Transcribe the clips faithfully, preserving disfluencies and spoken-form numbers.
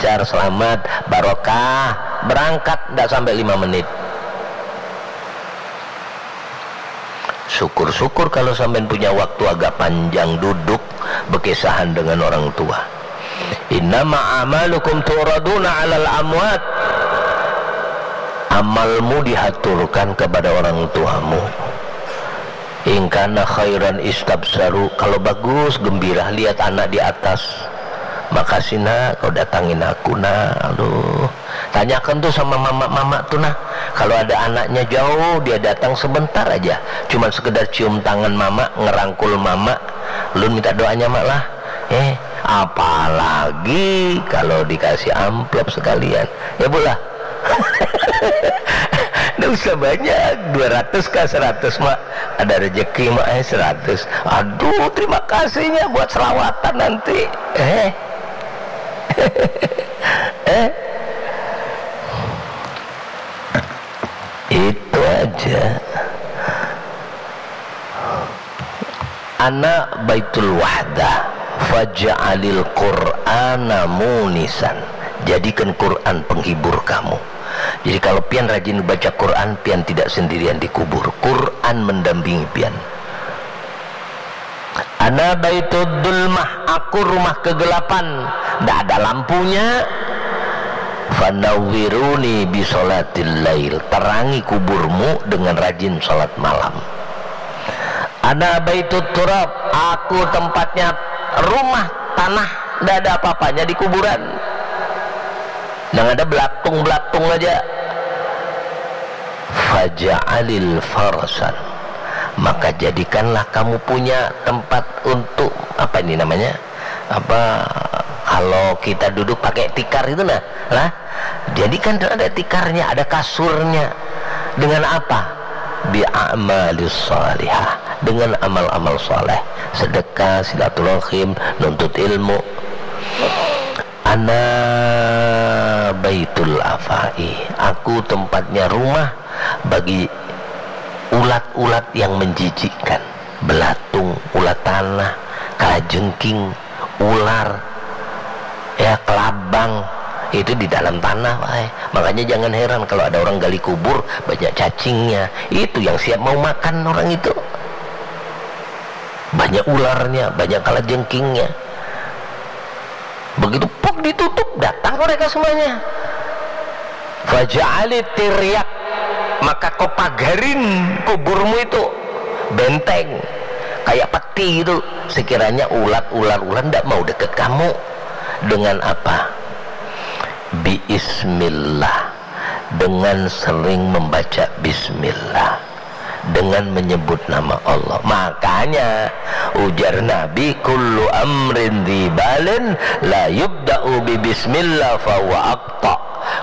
lancar, selamat, barokah, berangkat ndak sampai lima menit. Syukur-syukur kalau sampean punya waktu agak panjang duduk bekisahan dengan orang tua. Innama amalukum turaduna alal amwat. Amalmu dihaturkan kepada orang tuamu. Ingkana khairan istabsaru. Kalau bagus, gembira lihat anak di atas. Makasih nak, kau datangin aku nak. Aduh. Tanyakan tuh sama mama-mama tuh nah. Kalau ada anaknya jauh, dia datang sebentar aja. Cuman sekedar cium tangan mama, ngerangkul mama. Lun minta doanya mak lah. Eh, apalagi kalau dikasih amplop sekalian. Ya bu lah. Nggak usah banyak, dua ratus kah, seratus mak. Ada rezeki mak eh seratus. Aduh, terima kasihnya buat selawatan nanti. Eh. Eh. Itu aja. Ana baitul wahdah, faj'alil Qur'ana munisan. Jadikan Quran penghibur kamu. Jadi kalau pian rajin baca Quran, pian tidak sendirian di kubur. Quran mendampingi pian. Ana baitud dulmah, aku rumah kegelapan, ndak ada lampunya. Fanawwiruni bisolatil lail, terangi kuburmu dengan rajin sholat malam. Ana baitut turab, aku tempatnya rumah tanah, ndak ada apa-apanya di kuburan. Yang ada belatung-belatung aja. Faja'alil farasan, maka jadikanlah kamu punya tempat untuk, apa ini namanya, apa, kalau kita duduk pakai tikar itu nah, lah, jadikan ada tikarnya, ada kasurnya. Dengan apa? Bi a'malis salihah, dengan amal-amal saleh, sedekah, silaturahim, nuntut ilmu. Ana baitul afai, aku tempatnya rumah bagi ulat-ulat yang menjijikkan, belatung, ulat tanah, kalajengking, ular, ya, kelabang, itu di dalam tanah wae. Makanya jangan heran kalau ada orang gali kubur, banyak cacingnya. Itu yang siap mau makan orang itu. Banyak ularnya, banyak kalajengkingnya. Begitu puk ditutup, datang mereka semuanya. Faja'ali tiryak, maka kau pagarin kuburmu itu, benteng, kayak peti itu. Sekiranya ulat, ular, ular ndak mau deket kamu. Dengan apa? Biismillah, dengan sering membaca bismillah, dengan menyebut nama Allah. Makanya ujar Nabi, kullu amrin dzibalin la yubda'u bi bismillah fahuwa aqta.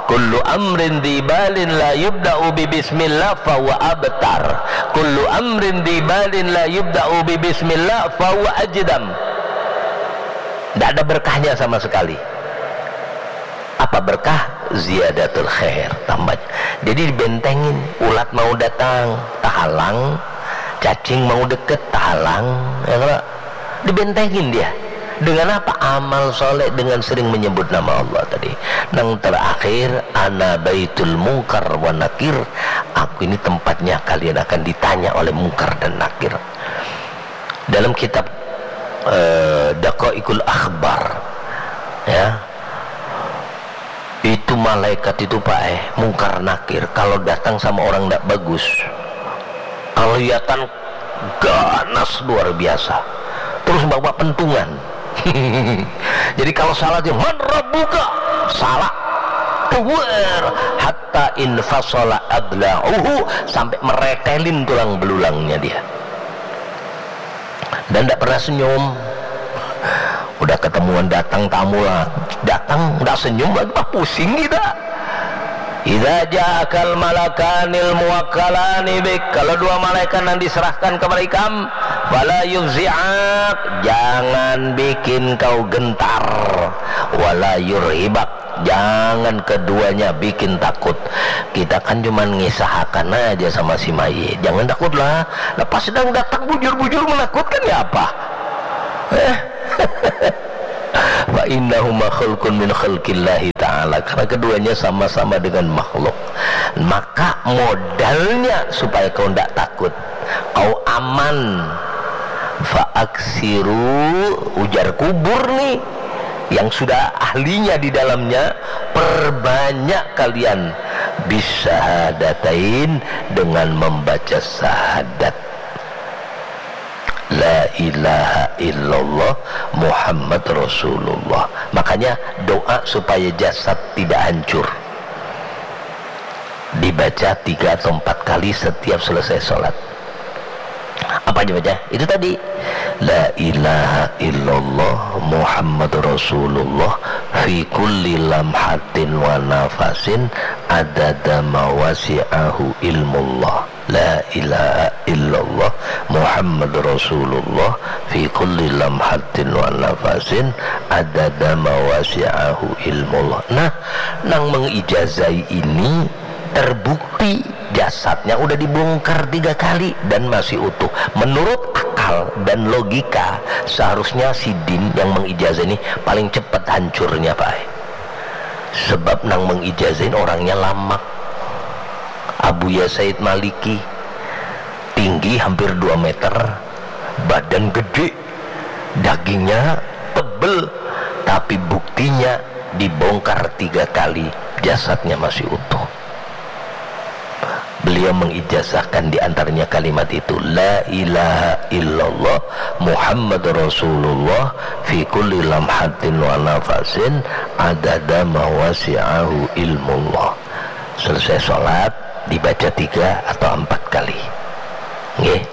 Kullu amrin dzibalin la yubda'u bi bismillah fahuwa abtar. Kullu amrin dzibalin la yubda'u bi bismillah fahuwa ajdam. Tidak ada berkahnya sama sekali. Apa berkah? Ziyadatul khair, tambah. Jadi dibentengin, ulat mau datang, tahalang, cacing mau deket, tahalang, ya kalau dibentengin dia. Dengan apa? Amal soleh, dengan sering menyebut nama Allah tadi. Nang terakhir, ana baitul mungkar wa nakir. Aku ini tempatnya kalian akan ditanya oleh mungkar dan nakir. Dalam kitab eh, Daqaiqul Akhbar, ya, itu malaikat itu pak eh, mungkar nakir, kalau datang sama orang ndak bagus, kelihatan ganas luar biasa, terus bawa pentungan. Jadi kalau salah dia, man rabbuka, salah, keluar, hatta infasala adla'uhu, sampai meretelin tulang belulangnya dia. Dan tidak pernah senyum. Udah ketemuan, datang tamu lah, datang tidak senyum lagi, bah, pusing kita. Idza ja'akal malakanil muwakkalani bik, kalau dua malaikat yang diserahkan kepada ikam, fala yufzi'ak, jangan bikin kau gentar, wala yurhibak, jangan keduanya bikin takut. Kita kan cuman ngisahakan aja sama si mayit, jangan takutlah. Lepas sedang datang bujur-bujur menakutkan ya apa? Eh? Fa innahuma khalqun min khalqillahi Karena keduanya sama-sama dengan makhluk. Maka modalnya supaya kau ndak takut, kau aman. Faaksiru, ujar kubur nih, yang sudah ahlinya di dalamnya, perbanyak kalian bisyahadatain, dengan membaca syahadat. La ilaha illallah Muhammad Rasulullah. Makanya doa supaya jasad tidak hancur dibaca tiga atau empat kali setiap selesai sholat. Apa dibaca? Itu tadi. La ilaha illallah Muhammad Rasulullah fi kulli lamhatin wa nafasin adada ma wasi'ahu ilmullah. La ilaha illallah Muhammad Rasulullah fi kulli lamhatin wa nafasin adada ma wasi'ahu ilmullah. Nah, nang mengijazai ini terbukti jasadnya udah dibongkar tiga kali dan masih utuh. Menurut akal dan logika, seharusnya sidin yang mengijazah ini paling cepat hancurnya, Pak. Sebab nang mengijazahin orangnya lamak. Abuya Said Maliki, tinggi hampir dua meter, badan gede, dagingnya tebel, tapi buktinya dibongkar tiga kali, jasadnya masih utuh. Beliau mengijazahkan di antaranya kalimat itu, La ilaha illallah Muhammad Rasulullah fi kulli lamhatin wa nafasin adada ma wasi'ahu ilmullah. Selesai sholat, dibaca tiga atau empat kali. Nggih.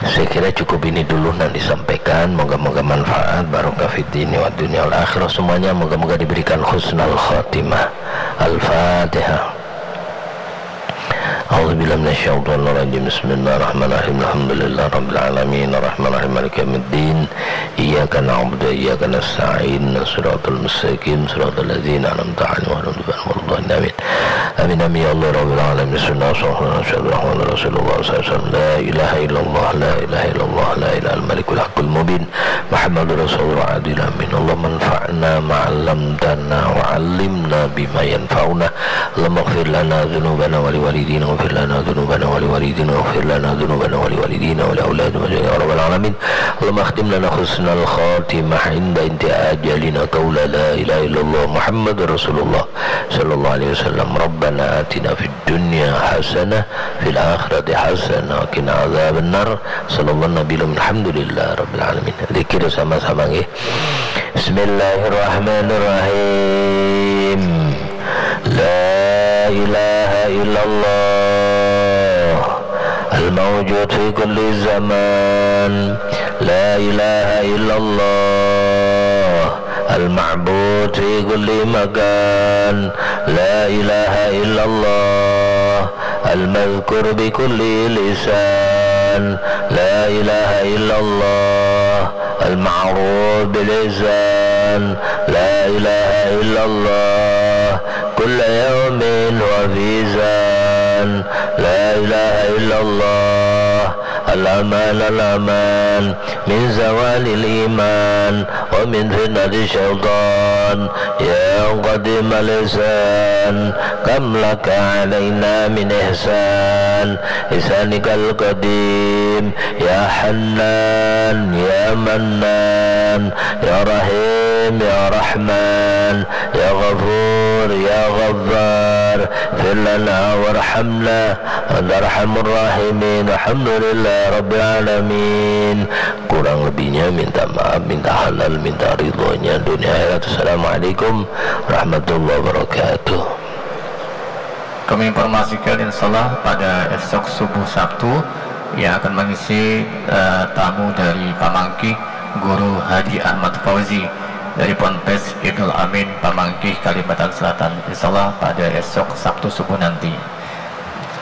Saya kira cukup ini dulu yang disampaikan. Moga-moga manfaat, barokah fid dini wa dunia wal akhirah semuanya. Moga-moga diberikan husnul khatimah. Al-Fatihah. A'udzubillahi minasyaitonirrajim. Bismillahirrahmanirrahim. Alhamdulillahirabbil alamin. Arrahmanirrahim. Maliki yaumiddin. Iyyaka na'budu wa iyyaka nasta'in. Shiratal mustaqim. Shiratal ladzina an'amta 'alaihim ghairil maghdubi 'alaihim waladdallin. Amin. Amin, amin, ya Allah, Rabbil Alamin. Bismillahirrahmanirrahim. Rasulullah, sallallahu alaihi wasallam. La ilaha illallah, la ilaha illallah, la ilaha illallah, Malikul Haqqul Mubin. Muhammadur Rasulullah, Adil Amin. Allahumma anfa'na ma 'allamtana wa 'allimna bima yanfa'una. Allahumma ighfir lana dzunubana wa liwalidina, ighfir lana dzunubana wa liwalidina, ighfir lana dzunubana wa liwalidina wa liauladina, ya Rabbal Alamin. Allahumma akhtim lana husnal khatimah inda intiha ajalina, qaula la ilaha illallah Muhammadur Rasulullah sallallahu alaihi wasallam. Rabbana atina fid dunya hasanah, fil akhirati hasanah, wa qina adzabannar. Sallallahu alaihi wasallam, alhamdulillah rabbil alamin. Zikir sama-sama nggih. Bismillahirrahmanirrahim. La ilaha illallah al-mawjud fi kulli zaman. La ilaha illallah al-ma'bud fi kulli makan. La ilaha illallah al-madhkur bi kulli lisan. La ilaha illallah al-ma'ruf bil ihsan. La ilaha illallah kulla yaumin wa fi zan. La ilaha illallah al-aman al-aman min zawalil iman wa min fitnati syaitan. Ya qadimal ihsan, kam laka alaina min ihsan, ihsanikal qadim. Ya Hannan, Ya Mannan, Ya Rahim, Ya Rahman, Ya Ghafur, Ya Ghaffar, fir lana warhamna, anta arhamur rahimin. Alhamdulillah rabbil alamin. Kurang lebihnya minta maaf, minta halal, minta ridhonya dunia akhirat. Assalamualaikum warahmatullahi wabarakatuh. Kami informasikan, insya Allah pada esok subuh Sabtu yang akan mengisi, eh, tamu dari Pamangkih, Guru Haji Ahmad Fauzi dari Ponpes Ibnul Amin, Pamangkih, Kalimantan Selatan. Insya Allah pada esok Sabtu subuh nanti.